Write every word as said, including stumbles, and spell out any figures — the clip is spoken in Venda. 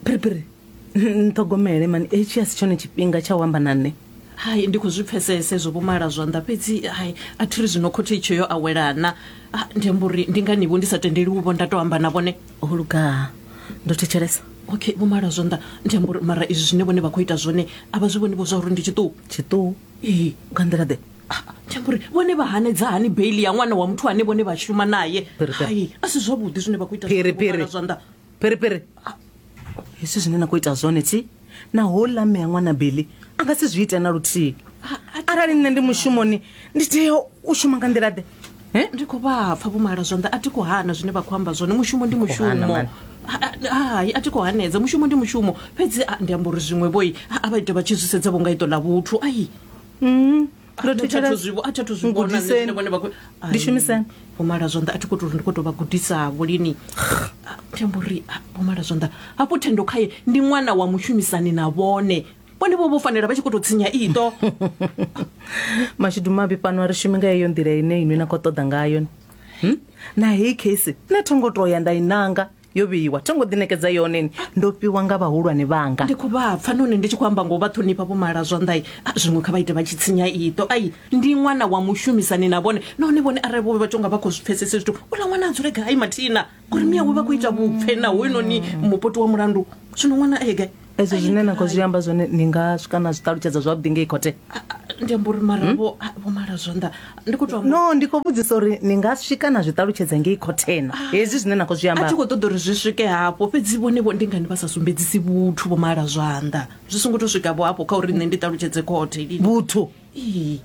Phiriphiri, nṱhogomele mani, hetshi a si tshone tshifhinga tsha u amba na nṋe. Hai, ndi khou zwi pfesesa ezwo vhomala zwanḓa, fhedzi hai, a thi ri zwino khothe itsho yo awelana. Ah, ndi amba uri ndi ngani vho ndi sa tendeliwi vho nda to amba na vhone. Ho luga, ndo thetshelesa. Okay, vhomala zwanḓa, ndi amba uri mara izwi zwine vhone vha khou ita zwone a vha zwi vhoni vho zwa uri ndi tshiṱuku? Tshiṱuhu? Ee. Nga nḓila ḓe? Ah, ndi amba uri vhone vha hanedza hani beili ya ṅwana wa muthu ane vhone vha shuma naye? Phiri, phiri. Hai, a si zwavhuḓi zwine vha khou ita Phiri, zwone, vhomala phiri. zwanḓa. Phiriphiri, hezwi zwine na khou ita zwone thi na houḽa mme a ṅwana beli a nga si zwi ite na luthihi. Arali nṋe ndi mushumoni, ndi tea u shuma nga nḓila ḓe? Eh? Ndi khou vha pfa vhomala zwanḓa, a thi khou hana zwine vha khou amba zwone, mushumo ndi Khou hana, mushumo. mani. Hai, a thi khou hanedza, mushumo ndi mushumo, fhedzi ah, ndi amba uri zwiṅwe vhoi a vha ite vha tshi zwi sedza vho nga iṱo ḽa vhuthu ai. Mm, ndo A thi thetshelesa. zwi vho- a thi athu zwi vhona nṋe Ngudiseni. zwine vhone vha khou- Ndi Ai, shumiseni. vhomala zwanḓa, a thi khou tou uri ndi khou tou vha gudisa vho lini. Ah, ndi amba uri ah, vhomala zwanḓa, hafhu Thendo khaye ndi ṅwana wa mushumisani na vhone, vhone vho vho fanela vha tshi khou tou tsinya iṱo. Mashudu mavhi fhano a ri shumi nga heyo nḓila ine inwi na khou ṱoḓa ngayo. Hmm? Na heyi case nṋe tho ngo to ya nda i nanga, yo vheiwa, tho ngo ḓinekedza yone ni, ndo fhiwa nga vhahulwane vhanga. Ndi khou vha pfa nahone ndi tshi khou amba ngo vha ṱhonifha vhomala zwanḓa, ah, zwiṅwe kha vha ite vha tshi tsinya iṱo. Ai, ndi ṅwana wa mushumisani na vhone, nahone vhone arali vho vha tonga vha khou zwi pfesese zwithu, uḽa ṅwana a dzule gai mathina ngori miyawe vha khou ita vhupfe na hoyunoni mupoti wa mulandu, zwino ṅwana a ye gai? Ezwo A ye zwine na khou gai? zwi amba zwone ni nga swika na zwi ṱalutshedza zwavhuḓi ngei khothe? Ah, ah, ndi amba uri mara vho ah, vho mala zwanḓa, ndi khou tou amba. No, ndi khou vhudzisa uri ni nga swika na zwi ṱalutshedza ngei khothena hezwi zwine na khou zwi A amba? thi khou ṱoḓa uri zwi swike hafho, fhedzi vhone vho ndi ngani vha sa sumbedzisi vhuthu vho mala zwanḓa? Zwi songo tou swika vho hafho kha uri nṋe ndi ṱalutshedze khothe lini. Vhuthu? Ee.